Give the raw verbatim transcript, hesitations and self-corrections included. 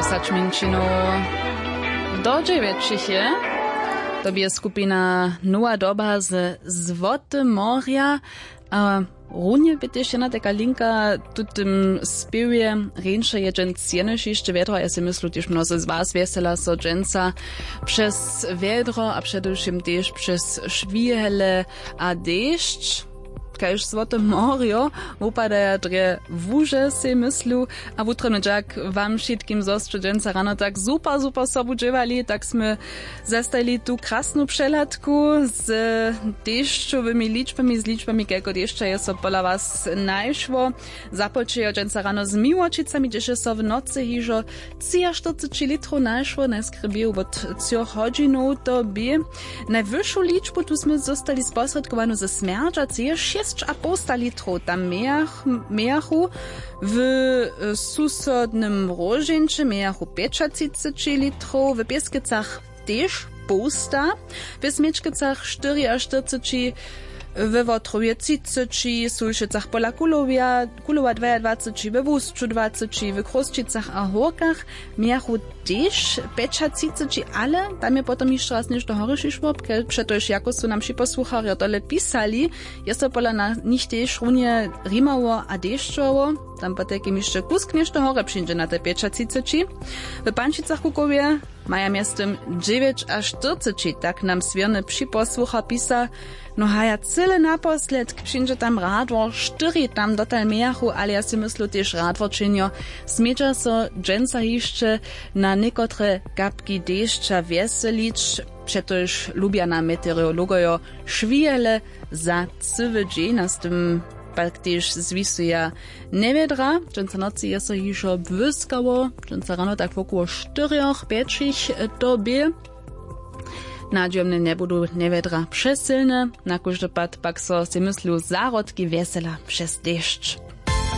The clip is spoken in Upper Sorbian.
Sačminčinow do dźewjećich je. To bě skupina Nowa Doba ze Złote Morja. A runje bě tež jedna taka linka w tutym spěwje. Rjeńše je dźens jenož hišće wjedro, ja sej myslu tež mnozy z was wjesela so dźensa přez wjedro a předewšěm tež přez šwihele a dešć, kaž Złote Morjo wupadaja drje łuže, sej myslu. A wutrobny dźak wam wšitkim, zo sće dźensa rano tak super super sobu dźěłali, tak smy zestajili tu krasnu přehladku z dešćowymi ličbami, z ličbami kajko dešća je so pola was najšło. Započejo dźensa rano z Miłočicami, hdźež je so w nocy hižo třiaštyrceći litrow našło, najskrjebeju wot třoch hodźinow to bě. Najwyšu ličbu tu smy zóstali sposrědkowanu ze Smjerdźacy, je šěsć a połsta litrow tam mějach-, mějachu. W e, susodnym Róžeńće mějachu pjećatřiceći litrow, w Pěskecach tež połsta, w Smječkecach štyriaštyrceći, we Wotrowje třiceći, w Sulšicach pola Kulowja, Kulowa dwajadwaceći, we Wusću dwaceći, w Chrósćicach a Hórkach mějachu tež pjećatřiceći, ale tam je potom hišće raz něšto horje přišło, ke-, přetož jako su nam wšitcy posłucharjo tole pisali, je so pola na-, nich tež runje rimało a dešćowało. Tam potajkim hišće kusk něšto horje přińdźe na te pjećatřiceći. W Pančicach Kukowje maja mjeztym dźewjećaštyrceći, tak nam swěrny připosłuchar pisa. No haja, cyle naposledk přińdźe tam radwor štyri, tam dotal mějachu, ale ja sej myslu tež radwor činjo. Smědźa so dźensa hišće na někotre kapki dešća wjeselić, přetož lubja nam meteorologojo šwihele za cyły dźeń, a z tym pak tež zwisuja njewjedra. Dźensa nocy je so hižo błyskało, dźensa rano tak wokoło štyrjoch pjećich to bě. Nadźijomnje njebudu njewjedra přesylne, na kóždy pad pak so sej myslu zahrodki wjesela přez dešć.